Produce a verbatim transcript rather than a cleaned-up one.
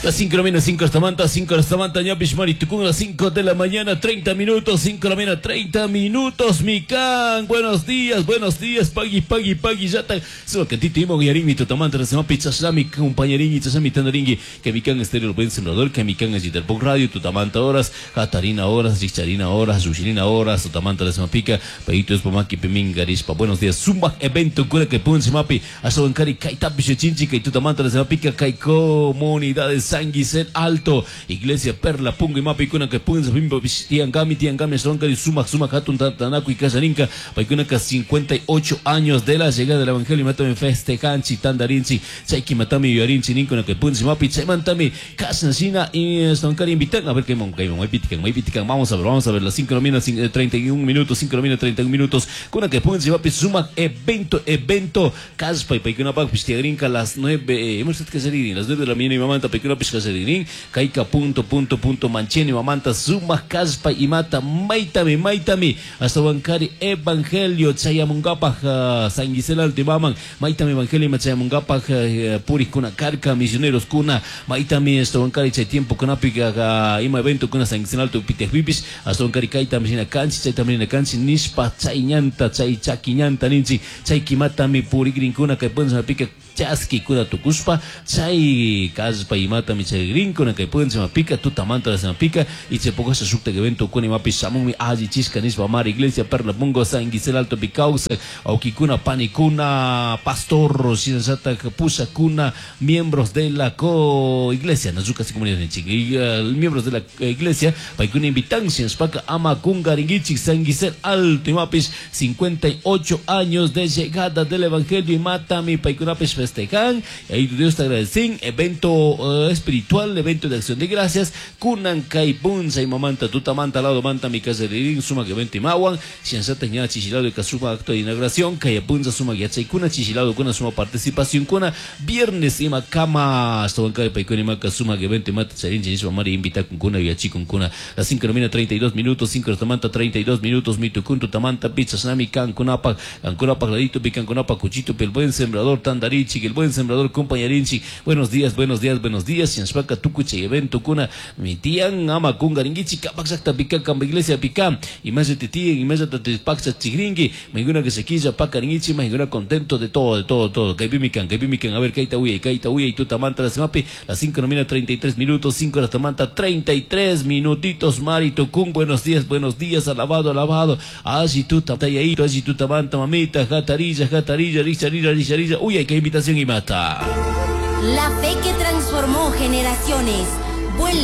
Las cinco de la mañana, cinco hasta manta, cinco hasta manta, ñapish maritucún, las cinco de la mañana, treinta minutos, cinco de la mañana, treinta minutos, mikan. Buenos días, buenos días, pagui, pagui, pagui, yata. Solo que titi imo yarini tutamanta, se mapi chashlami, compañerini, chashlami tandaringui, que mikan estéreo el buen sembrador, que mikan es Jiterpok Radio, tutamanta horas, Catarina horas, Richarina horas, Rushirina horas, tutamanta, se mapica, paito es pomaki, pimin, garishpa. Buenos días, zumba, evento, cura que punche mapi, asabancari, kaitapi, chinchi, que tutamanta, se mapica, kai comunidades. San Guisel Alto, Iglesia Perla, Pungo y Mapi, Kuna, que Punza, Bimbo, Tiangami, Tiangami, Stronkari, Sumac, Sumac, Hatun, Tanaku y Casarinca, Paikunaka, cincuenta y ocho años de la llegada del Evangelio, Matame, Festejanchi, Tandarinchi, Chaiki, Matami, Yuarinchi, Ninkuna, que Punzi, Mapi, Chaimantami, Casnasina y Stronkari, invitan, a ver qué mon, qué mon, Maipitican, Maipitican, vamos a ver, vamos a ver, las cinco de la mañana, treinta y un minutos, cinco de la mañana, treinta y un minutos, Kuna, que Punzi, Mapi, Sumac, evento, evento, Caspa y Paikuna, Pak, Pistiagrinca, las nueve, hemos que salir, las nueve de la mañana y mamanta, Paikuna, Pishkaseririn, Kaika punto punto punto mancheni mamanta suma kaspa y mata maitami maitami hasta bancari evangelio chayamungapaj San Gisela Alto maman maitami evangelio chayamungapaj puris kuna carca misioneros kuna maitami hasta bancari chay tiempo kuna pica ima evento kuna San Gisela Alto pitejpipis hasta bancari kaita misina kanchi chaytami na kanchi nishpa chayñanta chay chaquiñanta ninchi chay kimatami purigrin kuna kay punza pica chaski kuna tukuspa chay kaspa y mata mi chay grinko na kay punza pica tutamanta la pica y che poco se sukta evento kuna mapi samumi aji chisca nispa mar iglesia Perla Pungo San Gisela Alto Picausa aukikuna panikuna pastor sinasata pusa kuna miembros de la co iglesia nazuka si comunidad y uh, miembros de la iglesia paikuna invitancia spaka ama kungaringichi San Gisela Alto y mapis cincuenta y ocho años de llegada del evangelio y matami paikuna pis festejan y ahí Dios te agradecen evento uh, espiritual, evento de acción de gracias, kunan kai punza y mamanta tutamanta lado manta mi casa de irin suma que vente mawan, siansata ña chichilado y kasuma acto de inauguración, kaya punza suma que yachay kuna chichilado kuna suma participación kuna viernes ima kama hasta banca de paikuni maka suma que vente mata charin chinisma mari invita con kuna y con kuna las cinco de la mañana treinta y dos minutos, cinco de la tamanta treinta y dos minutos, mitukun tutamanta pizza nami kan kunapa, kan kunapa ladito pican kunapa cuchito pel buen sembrador tandarichi, el buen sembrador compañerinchi. Buenos días, buenos días, buenos días. Sianspaca tukuche evento kuna mi tian ama kungaringichi kapaxacta pica kamba iglesia pica y más de titien y más de paxa chigringui mainguna que se quilla pacaringichi mainguna contento de todo, de todo, todo. Kaipimican, kaipimican, a ver kaita uya, kaita uya y tutamanta la semapi las cinco de la mañana treinta y tres minutos, cinco de la tamanta treinta y tres minutitos, Marito Kun, buenos días, buenos días, alabado, alabado. Allí tuta tayito, allí tutamanta mamita, jatarilla, jatarilla, richarilla, richarilla, uy, qué invitación y mata. La fe que transformó generaciones. Vuelve.